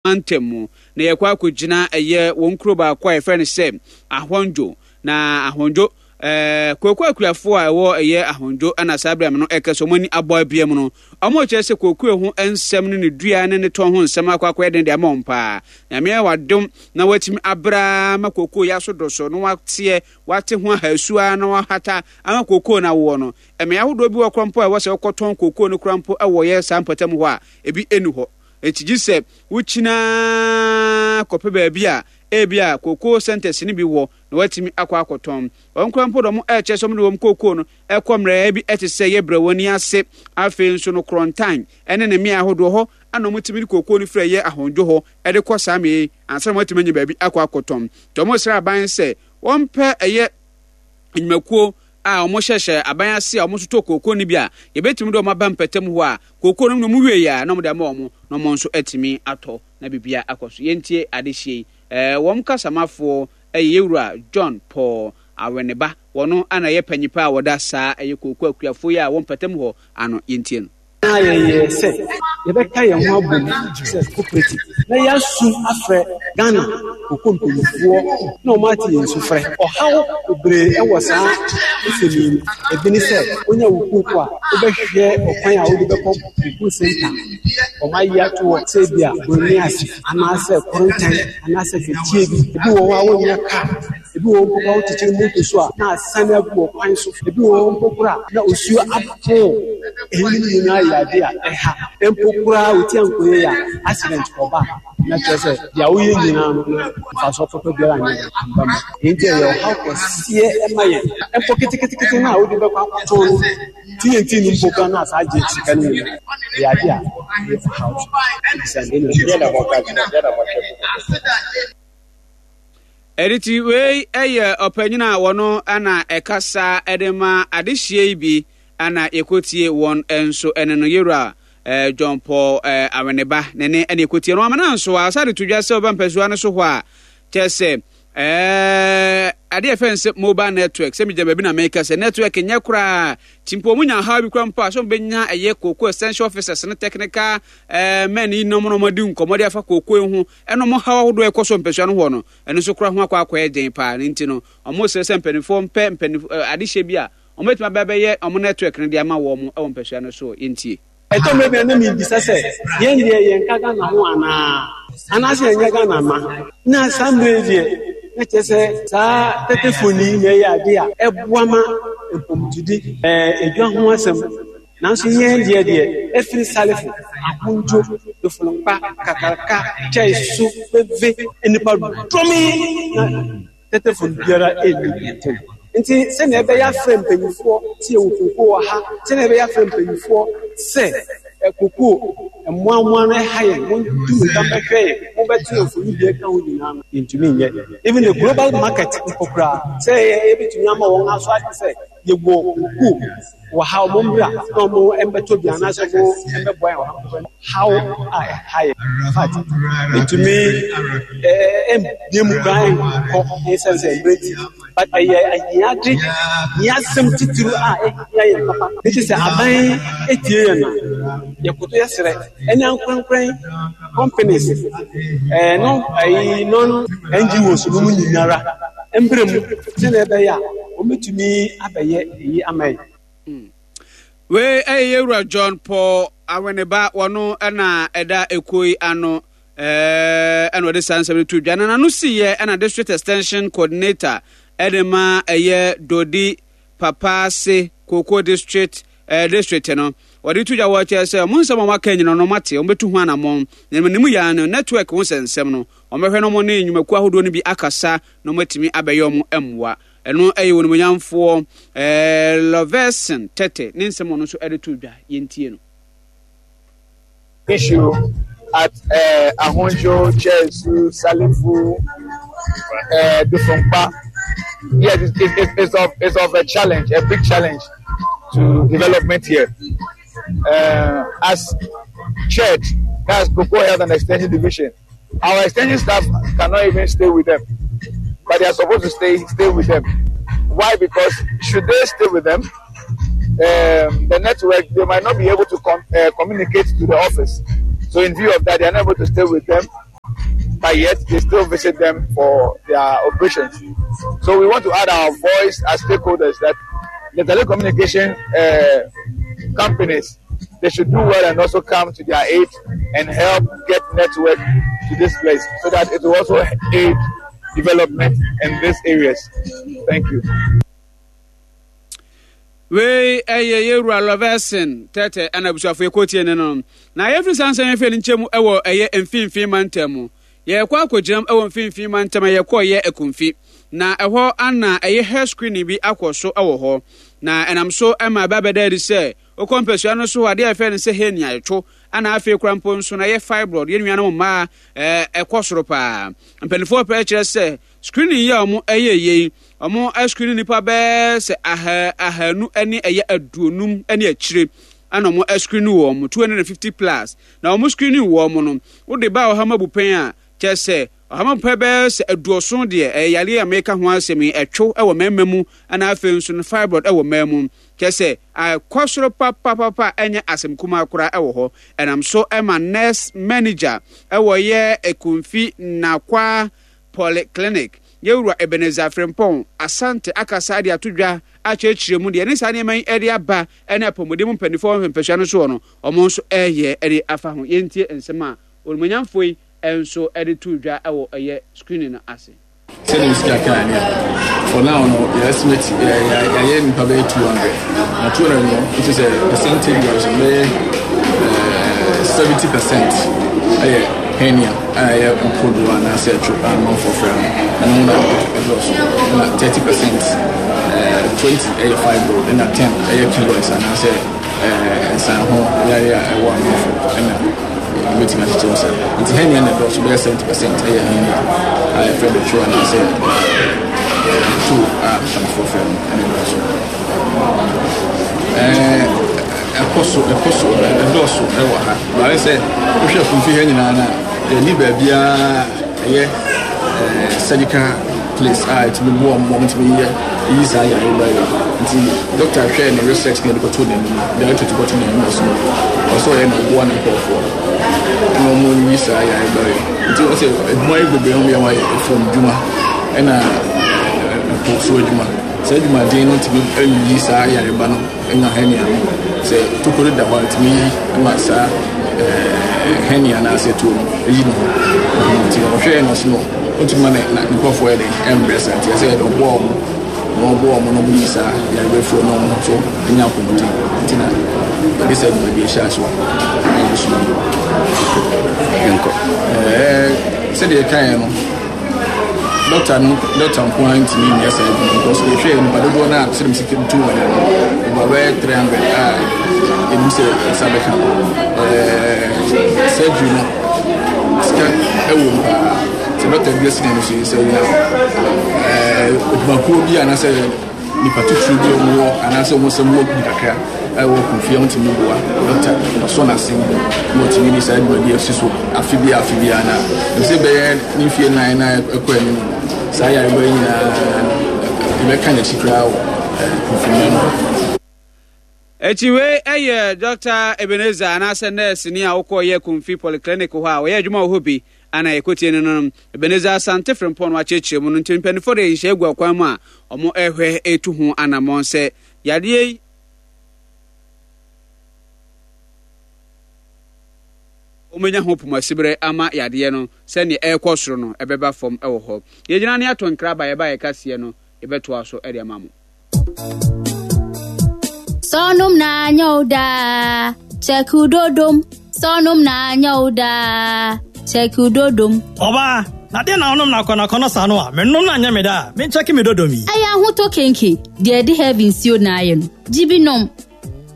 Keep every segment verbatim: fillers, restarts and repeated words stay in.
Mantam mu na yɛkɔ akɔgyina ɛyɛ wɔn kuro baako a yɛfrɛ no sɛ Ahɔndwo. Na Ahɔndwo ɛɛ kooko akuafoɔ a ɛwɔ ɛyɛ Ahɔndwo ɛna saa berɛ no ɛkɛ sɛ wɔn ani abɔ abia mu no, wɔn kyerɛ sɛ kooko ho nsɛm ne ne dua ne ne tɔn ho nsɛm akɔ akɔyɛ den de ama wɔn paa. Nyame ayɛ wadom na watumi abra ma kooko yɛ aso do so na wateɛ wate ho ahasua na wahata ama kooko no awoɔ no. Mmea ahodoɔ bi wɔ korɔ mpo a ɛwɔ sɛ wɔkɔtɔn kooko no korɔ mpo ɛwɔ yɛ saa mpɔtam hɔ a ebi ɛni hɔ. Eti gye sɛ wokyinaa kɔpɛ baabi a ebi a kooko centers no bi wɔ na watumi akɔ akɔtɔn. Wɔn kora mpo dɔm ɛkyɛ sɛ wɔde wɔn kooko no ɛkɔ mmerɛ bi ɛte sɛ yɛ brɛ wɔn ani ase. Afei nso no Korɔntan ɛne ne mmea ahodoɔ hɔ ana wɔn tumi de kooko no firi ɛyɛ Ahɔndwo hɔ ɛde kɔ saa mmea yi ansa na wɔatumi anya baabi akɔ akɔtɔn. Nti wɔn srɛ aban sɛ wɔmpɛ ɛyɛ nnwumakuo a wɔhyehyɛ aban ase a wɔn nso tɔ kooko no bi a yɛbɛtumi de wɔn aba mpɛtam hɔ a kooko no mu wie a na wɔde ama wɔn na wɔn nso atumi atɔ na biribia akɔ so. Yɛntie adehyie yi. ɛɛ wɔn kasamafoɔ ɛyɛ Yɛwura John Paul Aweneba. Wɔn ana ɛyɛ panyipa a wɔda saa ɛyɛ kooko akuafoɔ yi a wɔn mpɛtam hɔ ano. Yɛntie no. Na yɛyɛ sɛ yɛbɛka yɛn ho abom sɛ cooperative na yɛasu afrɛ Ghana koko mpanyinfoɔ na wɔn ate yɛn su frɛ. Ɔhaw bebree ɛwɔ saa nsɛm yi mu. Ebi ne sɛ wonya wo kooko a, wobɛhwehwɛ ɔkwan a wode bɛkɔ koko center wɔn ayi ato hɔ sɛ ebi a Buroni ase anaasɛ Korontan anaasɛ Kɛkyie bi. Ebi wɔ hɔ a wonnya kaa, ebi wɔ hɔ mpo a wokyekyere moto so a na asane agu wɔ kwan so, ebi wɔ hɔ mpo koraa na osuo apo. Eyinom nyinaa yɛ ade a ɛha mpo koraa oti ankɔyɛ yɛ a accident kɔba na kyerɛ sɛ deɛ woyɛ nyinaa no na mfasoɔ papa biara nyɛ amba mu. Nti ɛyɛ ɔhaw kɛseɛ ɛma yɛn mpo ketekete no a wode bɛkɔ akɔtɔn no T N T no mpo koraa na asa agye sika no nyinaa. Ɛyɛ ade a ɛyɛ ɔhaw so ebisa ne na. Ɛde wei ɛyɛ ɔpanyin a wɔno ana ɛkasa ɛde ma adehyie yi bi ana yɛkɔtie wɔn nso ɛne no Yɛwura ɛɛ John Paul ɛɛ Aweneba ne ne ɛna yɛkɔtie no. Amana nso a ɔsa de to dwa sɛ ɔba mpɛsoa no so hɔ a kyerɛ sɛ ɛɛ adeɛ yɛfrɛ no sɛ mobile network sɛ megyina baabi na meka sɛ network nyɛ koraa nti mpo ɔmo nya haw bi koraa mpo a sɛ ɔmo ɛyɛ cocoa extension officers ne technical ɛɛ men yi nom na ɔmo adi nkɔmmɔ de afa cocoa yi ho ɛna ɔmo haw ahodoɔ ɛkɔ so mpɛsoa no hɔ no, ɛno nso koraa ho akɔ akɔyɛ den paa. Ne nti no ɔmo srɛ sɛ mpanimfoɔ mpɛ mpanimfoɔ adehyɛ bi a ɔmo bɛtumi abɛ bɛyɛ ɔmo network no de ama wɔn ɛwɔ mpɛsoa no so. Yɛntie. Ɛtɔ mmerɛ bi a na mebisa sɛ yɛn deɛ yɛnka Ghana ho anaa anaasɛ yɛnyɛ Ghana ma na saa mmerɛ yi deɛ na kyerɛ sɛ saa tɛtɛfoni na ɛyɛ ade a ɛboa ma mpɔmtudi ɛɛ edwa ho asɛm, nanso yɛn deɛ deɛ ɛfiri Salifo, Ahondwo, Dofolonkpa, Kakaraka, Kyɛnso, Beve, nipa dɔm yi na tɛtɛfoni biara ɛnni ntam. Nti sɛnea ɛbɛyɛ afrɛ mpanyinfoɔ sɛ yɛwɔ koko wɔ ha, sɛnea ɛbɛyɛ afrɛ mpanyinfoɔ sɛ koko mmoamoa no ɛha yɛn, montu nka mbɛhwɛ yɛn, mobɛto yɛn mfoni bi ɛka ho nyinaa no, yɛntumi nyɛ. Even the global market mpo koraa sɛ yɛbɛtumi ama wɔn aso ade sɛ yɛwɔ koko wɔ ha, ɔmo mbra na ɔmo mbɛtɔ bi anaasɛ ɔmo mbɛboa yɛn wɔ ha mpo haw a ɛha yɛn. In fact, ɛtumi ɛɛ ɛmbie mu koraa nkɔ ɛnsɛn sɛ mmerɛ ti, but ɛyɛ ahiade hiasɛm titiri a ɛhia yɛn papa. Nti sɛ aban etie yɛn no, yɛkoto yɛsrɛ ɛne ankorankran companies ɛɛ no ɛyi non N G Os no mu nyinara mbrɛ mu sɛnea ɛbɛyɛ a wɔbɛtumi abɛyɛ eyi ama yɛn. Wei ɛyɛ Yɛwura John Paul Aweneba. Wɔno ɛna ɛda ekuo yi ano ɛɛ ɛna ɔde saa nsɛm no to dwa na n'ano siiɛ. Ɛna district extension coordinator ɛde ma ɛyɛ Dodi Papaase Cocoa District ɛɛ district no, wɔde to dwa wɔ kyerɛ sɛ ɔmo nsɛm a wɔaka nyina no ɔmo ate, ɔmo bɛtu ho anammɔn na ne mu yaa no network ho sɛ nsɛm no ɔmo bɛhwɛ na ɔmo ne nnwumakuo ahodoɔ no bi akasa na ɔmo atumi abɛyɛ ɔmo mmoa. Ɛno ɛyɛ wɔn nimonyamfoɔ ɛɛ Lɔvɛsin Tɛtɛ ne nsɛm ɔno nso ɛde to dwa. Yɛntie no. Issue at uh, Ahonjo, Chesu, Salifu, uh, Dufunkpa. Yes, it's, it's, it's, of, it's of a challenge, a big challenge to development here. Uh, as church, that's Cocoa Health and Extension Division, our extension staff cannot even stay with them, but they are supposed to stay stay with them. Why? Because should they stay with them, um, the network, they might not be able to com- uh, communicate to the office. So in view of that, they are not able to stay with them. But yet they still visit them for their operations. So we want to add our voice as stakeholders that the telecommunication uh, companies, they should do well and also come to their aid and help get network to this place so that it will also aid development in these areas. Thank you. Wei ɛyɛ yɛwura Lɔvɛsen Tɛtɛ ɛna abusuafo yɛkɔtie ne no. Na yɛfiri saa nsɛm yɛfɛ no nkyɛn mu ɛwɔ ɛyɛ mfimfini mantam mu. Yɛkɔ akɔgyinam ɛwɔ mfimfini mantam a yɛkɔ yɛ Akumfi. Na ɛhɔ ana ɛyɛ hair screening bi akɔ so ɛwɔ hɔ. Na ɛnam so ɛma ɛba bɛda adi sɛ wokɔ mpasua no so adeɛ a yɛfrɛ no sɛ hernia ɛtwo ana afei kora mpo nso na ɛyɛ fibroid yɛn nuanom mmaa ɛkɔ soro paa. Mpanimfoɔ pɛ kyerɛ sɛ screening yi a wɔn ɛyɛ yei wɔn screening nipa bɛɛ sɛ aha ahanu ne ɛyɛ aduonum ne akyire ɛna wɔn screening wɔn two hundred and fifty plus na wɔn screening wɔn no wode ba ɔha mu abupɛn a kyerɛ sɛ ɔha mu abupɛn bɛɛ sɛ aduoson deɛ ɛyɛ yareɛ a meka ho asɛm yi ɛtwo ɛwɔ mmarima mu ɛna afei nso no fibroid ɛwɔ mmaa mu kyerɛ sɛ akɔ soro papapapa ɛnyɛ asɛm kumaa koraa ɛwɔ hɔ. Ɛnam so ɛma nurse manager ɛwɔ yɛ Ekumfi Nakwa Polyclinic yɛwura Ebenezer Frimpong Asante akasa de ato dwa akyerɛkyerɛ mu deɛ ne saa nneɛma yi de aba ne apɔmuden mu mpanimfoɔ mpɛsua no soɔ no wɔn nso ɛreyɛ de afa ho. Yɛntie nsɛm a onimonyamfoɔ yi nso de to dwa wɔ ɛyɛ screening no ase. Sɛdeɛ mesi kakaa ne for now no yɛ estimate yɛayɛ nipa bɛyɛ two hundred na two hundred no nti sɛ percentage wise bɛyɛ seventy percent ɛyɛ hernia a ɛyɛ mpodoɔ anaasɛ ɛtwo a amanfoɔ frɛ no ɛno na ɛdɔɔso ɛna thirty percent twenty ɛyɛ fibroid ɛna ten ɛyɛ keloids anaasɛ nsan ho yare a ɛwɔ amanfoɔ ɛna ɛbɛtumi akyekyɛ mu saa. Nti hernia na ɛdɔɔso bɛyɛ seventy percent ɛyɛ hernia a yɛfrɛ no two anaasɛ two a mpanimfoɔ frɛ no ɛna ɛdɔɔso. Ɛɛ ɛkɔ so ɛkɔ so ɛdɔɔso ɛwɔ ha. Baayɛ sɛ wohwɛ akumfi ha nyinaa no a yɛnni baabiara ɛyɛ surgical place a ɛtumi boa wɔn wɔn tumi yɛ yi saa yare ba yi. Nti doctor hwɛ ne research ne yɛde kɔto n'anim, directorate kɔto n'anim ɔso ɔsɛ ɔyɛ na ɔboa ne nkurɔfoɔ na wɔn yi saa yare ba yi. Nti ɔsɛ adwuma yi bebree wɔn yɛ wɔn ayɛ fam dwuma ɛna ɛpo so adwuma. Saa adwumaden no tumi yi saa yareba no nya hernia no. Sɛ tokuro da hɔ a tumi yi ma saa hernia anaasɛ tuo no yi ne ho. Nti ɔhwɛɛ no so no ɔtumi ma ne nkurɔfoɔ yɛ den ɛmbrɛ saa nti ɛsɛ yɛde ɔboa wɔn na ɔboa wɔn na wɔyi saa yareba firi na wɔn nso nya apɔmuden nti na yɛde saa dwumadie hyɛ ase wɔ na yɛde soma no. Yɛnkɔ. Ɛɛ sɛdeɛ ɛkaeɛ no dɔkta no dɔkta nko ara ntumi nyɛ saa adwuma because yɛhwɛ nipa dodoɔ no a sɛdeɛ mesi tu wɔn no over bɛyɛ three hundred a ɛnim sɛ nsa bɛka ɛɛ surgery no sika ɛwɔ mu paa sɛ dɔkta bi asi n'ani so yi sɛ ɔnya ɛɛ adwumakuo bi anaasɛ nipa titiriw bi a wɔwɔ anaasɛ wɔn nsɛm wɔ bi kakra a ɛwɔ Kumfia wɔtumi boa dɔkta ɔsɔ n'ase na ɔtumi de saa dwumadi asi so afe bi afe bi na ɛsɛ bɛyɛ ne mfie nan na ɛkɔ anim no saa yareba yi nyinaa yɛbɛka n'akyi koraa wɔ Kumfia mu. Akyi wei yɛ Dɔkta Ebenezer anaasɛ nɛɛseni a wokɔɔyɛ Kumfi Polyclinic hɔ a ɔyɛ adwuma wɔ hɔ bi ana yɛkɔtie no no. Ebenezer Asante Frimpong no akyerɛkyerɛ mu no nti mpanimfoɔ de nhyehyɛe agu akwan mu a wɔrehwɛ retu ho anammɔn sɛ yadeɛ yi wɔbɛnya ho pomasiberɛ ama yadeɛ no sɛdeɛ ɛrekɔ soro no ɛbɛba fam wɔ hɔ. Yɛgyina ne ato nkra ba yɛba yɛka seɛ no yɛbɛtoa so de ama mo. Sɔnum na nyɛ wo daa, check wo dodom. Sɔnum na nyɛ wo daa, check wo dodom. Ɔbaa, na deɛ na wonom na akɔnɔakɔnɔ saa no a, menom na nyɛ me da a, menkyɛke me dodom yi. Ɛyɛ ahotɔ kenke, deɛ ɛde heavy nsuo na ayɛ no. Gye bi nom.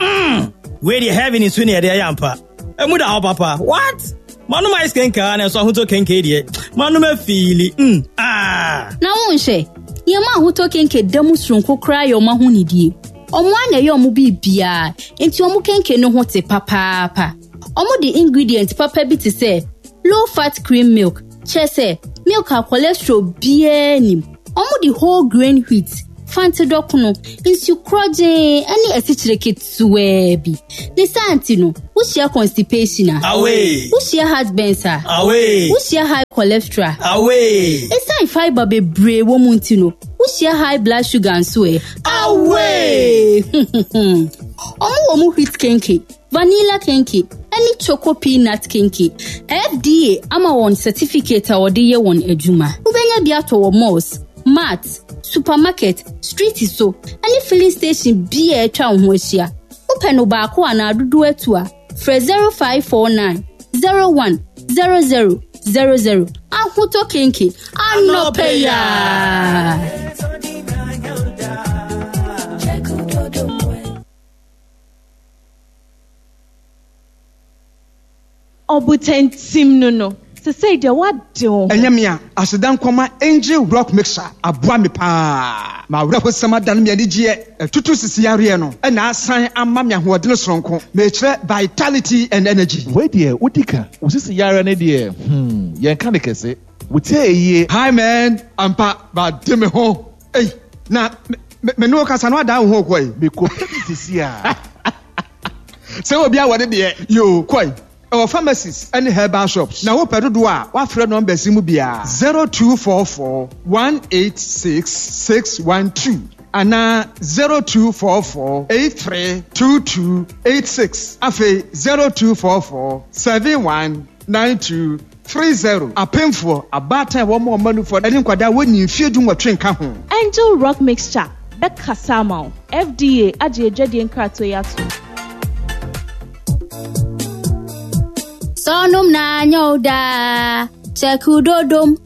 Mm, wei deɛ heavy nsuo na yɛde ayɛ ampa. Emu da hɔ papa. What? Manom ice kenke a na ɛso ahotɔ kenke deɛ. Manom afiili. Mm, ah. Na wonhwɛ, nneɛma ahotɔ kenke da mu soronko koraa yɛ ɔmo ahonidie. Ɔmo a na ɛyɛ ɔmo biribiara, nti ɔmo kenke no ho te papaapa. Ɔmo de ingredient papa bi te sɛ low fat cream milk, kyerɛ sɛ milk a cholesterol biara nim. Ɔmo de whole grain wheat Fante dɔkono, nsu korɔgyee ne asikyire ketewaa bi. Ne saa nti no, wohyia constipation a. Away! Wohyia heartburns a. Away! Wohyia high cholesterol. Away! Esiane fiber bebree wɔ mu nti no, wohyia high blood sugar nso ɛ. Away! Ɔmo wɔ mu wheat kenke, vanilla kenke, ɛne choco peanut kenke. F D A ama wɔn certificate a wɔde yɛ wɔn adwuma. Wobɛnya bi atɔ wɔ malls, mart, supermarket, street so, ɛne filling station bi a atwa wo ho ahyia. Wopɛ no baako anaa dodoɔ atu a, frɛ zero five four nine zero one zero zero zero zero. Ahotɔ Kenke, anɔpɛ yaa. Ɔbotantim no no sesei deɛ woade wo ho. Ɛnyɛ me a aseda nkɔma Angel Rock Mixer aboa me paa ma awerɛhosɛm adane me anigyeɛ, ɛtutu sisi yareɛ no ɛna asan ama me ahoɔdene soronko, mekyerɛ vitality and energy. Wei deɛ, wodi ka wo sisi yare ne deɛ, hmm yɛnka ne kɛse wotie yie. Hi man, ampa bade me ho. Ei, na me me ne wo kasa no adan wo ho kɔi. Mekɔpɛ bi sisi a. Sɛ obi a wɔde deɛ yo kɔi ɛwɔ pharmacies ɛne herbal shops, na wopɛ dodoɔ a, wafrɛ numbers yi mu biara: zero two four four one eight six six one two anaa zero two four four eight three two two eight six, afei zero two four four seven one nine two three zero. Apemfoɔ, abaatan a wɔn a wɔn anufoɔ ɛne nkwadaa wɔnyi mfie du nwɔtwe nka ho. Angel Rock Mixture bɛkasa ama wo. F D A agye adwadie nkratoɔ yi ato. Sɔnum na nyɛ wo daa kyɛku dodom.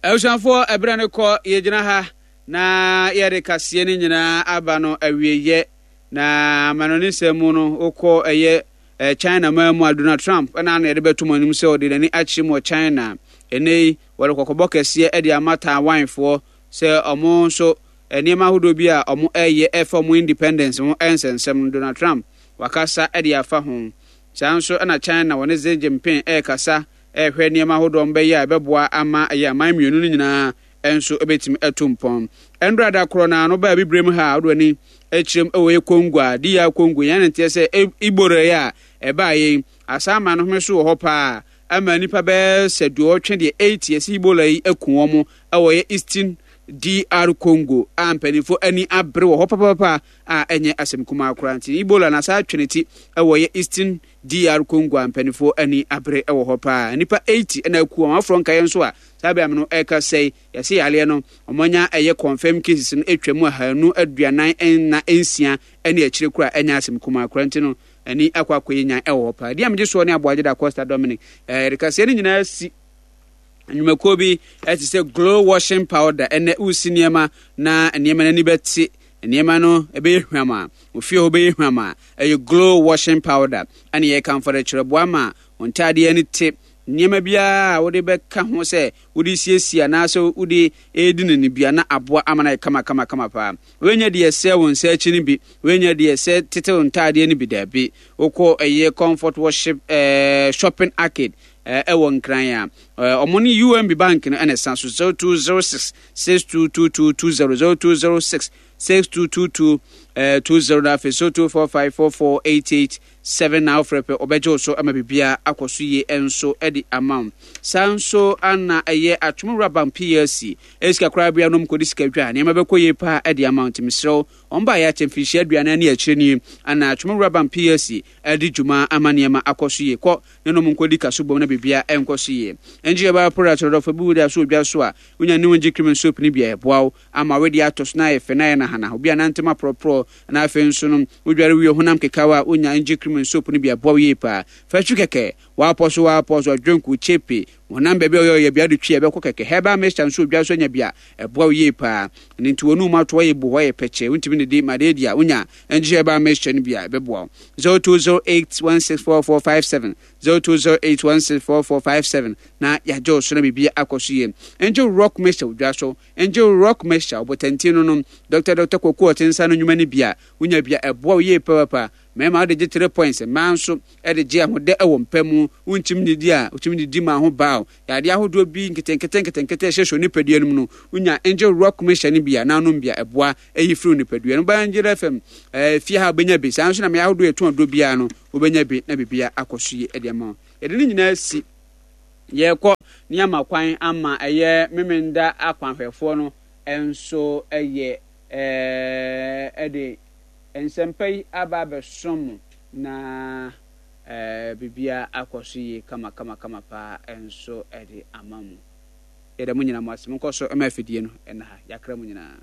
Abusuafoɔ, ɛberɛ no kɔ, yɛgyina ha na yɛde kaseɛ no nyinaa aba no awieyɛ. Na amanɔne nsɛm mu no, wokɔ ɛyɛ eh, China man mu a, Donald Trump ɛna ano yɛde bɛto mu anim sɛ ɔde n'ani akyerɛ mu wɔ China. Ɛnɛ yi wɔde kɔkɔbɔ kɛseɛ de ama Taiwanfoɔ sɛ ɔmo nso nneɛma ahodoɔ bi a ɔmo ɛyɛ ɛfa ɔmo independence ho ɛnsɛnsɛm no, Donald Trump wakasa de afa ho. Saa nso ɛna China wɔne Xi Jinping ɛrekasa ɛrehwɛ nneɛma ahodoɔ ɔmo bɛyɛ a ɛbɛboa ama ɛyɛ aman mmienu no nyinaa ɛnso ɛbɛtumi atu mpɔn. Ɛndora da korɔ na ano baa bibire ha a, wode w'ani akyerɛm ɛwɔ yɛ Congo a D R Congo yɛn ne nteɛ sɛ Ebola yi a ɛbaa yɛn asaama no home so wɔ hɔ paa ama nipa bɛyɛ sɛ duɔtwe deɛ eighty yɛsɛ Ebola yi aku wɔn ɛwɔ yɛ Eastern D R Congo a mpanimfoɔ ani abere wɔ hɔ papapapa a ɛnyɛ asɛm kumaa koraa. Nti Ebola na saa atwe ne ti ɛwɔ yɛ Eastern D R Congo a mpanimfoɔ ani abere ɛwɔ hɔ paa. Nipa eighty ɛna aku wɔn aforɔ nkaeɛ nso a saa bɛn no ɛka sɛe yɛsɛ yareɛ no ɔmanya ɛyɛ confirm cases no atwa mu ahanu aduanan ɛna nsia ɛne akyire kora, ɛnyɛ asɛm kumaa koraa. Nti no ani akɔ akɔyɛ nyan ɛwɔ hɔ paa. Deɛ megye soɔ ne Aboagye da Costa Dominic ɛɛ yɛde kaseɛ no nyinaa si nnwumakuo bi ɛte sɛ Glow washing powder. Ɛnɛ wosi nneɛma na nneɛma no ani bɛte, nneɛma no ɛbɛyɛ hwam a ofie hɔ bɛyɛ hwam a, ɛyɛ Glow washing powder ɛne yɛkamfo de kyerɛ boa ma wɔn ntaadeɛ ani te. Nneɛma biara a wode bɛka ho sɛ wode siesie anaasɛ wode ɛredi no no bia na aboa ama no ayɛ kama kama kama paa. Woanya deɛ ɛsɛ wo nsa akyi no bi, woanya deɛ ɛsɛ tetew ntaadeɛ no bi. Daabi, wokɔ ɛyɛ Comfort Worship ɛɛ Shopping Arcade ɛwɔ Nkran a ɔmo ne U M B Bank no ɛna ɛsan so zero two zero six six two two two two zero, zero two zero six six two two two two zero, na afei zero two four five four four eight eight seven na wofrɛ pɛ ɔbɛgye wo so ama biribiara akɔ so yie nso de ama wo. Saa nso ana ɛyɛ Atomowura Bank P L C ɛsika koraa bia nom kɔdi sika dwa nneɛma bɛkɔ yie paa de ama wo. Nti mesrɛ wo, ɔn ba yɛ akyɛ mfirinhyia aduanan ne akyire nie ana Atomowura Bank P L C ɛde dwuma ama nneɛma akɔ so yie. Kɔ ne nom nkɔdi kaso bom na biribiara ɛnkɔ so yie. Ɛngye yɛbaa product dɔdɔfo bi wode aso odwa so a wonya ne wongye cream and soap no bi a ɛboa wo ama wede atɔ so na ayɛ fɛ na ayɛ nahana obi a nantem aporɔporɔ. Na afei nso no wodware wie honam kekaw a, wonya ngye cream and soap no bi aboa wo yie paa. Fa twi kɛkɛ, waapɔ so waapɔ so ɔdwonko kyepe honam baabi a ɔyɛ ɔyɛ bia de twi a ɛbɛkɔ kɛkɛ. Herbal mixture nso odwa so anya bi a ɛboa wo yie paa. Ɛno nti wɔn mu ato ɔyɛ bu hɔ yɛ pɛkyɛ wontumi ne di ma de di a, wonya ngye herbal mixture no bi a ɛbɛboa wo. zero two zero eight one six four four five seven, zero two zero eight one six four four five seven na yɛagye wo so na biribi akɔ so yie. Ngye Rock mixture odwa so, ngye Rock mixture ɔbɔtantin no nom Doctor Doctor Kwaku ɔte nsa no nnwuma no bi a wonya bi a ɛboa wo yie papaapa. Mmarima wode gye three points, mmaa nso de gye ahodɛ wɔ mpa mu. Wonkyim nnidi a, wotumi didi ma ho baw. Yadeɛ ahodoɔ bi nketenkete nketenkete a ɛhyɛhyɛ onipadua no mu no, wonya Angel Rock mixture no bi a, na wonom bi a, ɛboa yi firi onipadua no mu. Ba Angel F M eh, fie ha wobɛnya bi. Saa nso na mmea ahodoɔ yɛtɔn aduro biara no, wobɛnya bi na biribiara akɔ so yie de ama wo. Yɛde ne nyinaa si yɛrekɔ ne ama kwan ama ɛyɛ Memenda akwanhwɛfoɔ no nso yɛ ɛɛ de nsɛmpa yi aba abɛsom mo na ɛɛ biribiara akɔ so yie kama kama kama paa nso de ama mo. Yɛda mo nyinaa mo ase. Monkɔ so ma afidie no ɛna ha. Yɛakra mo nyinaa.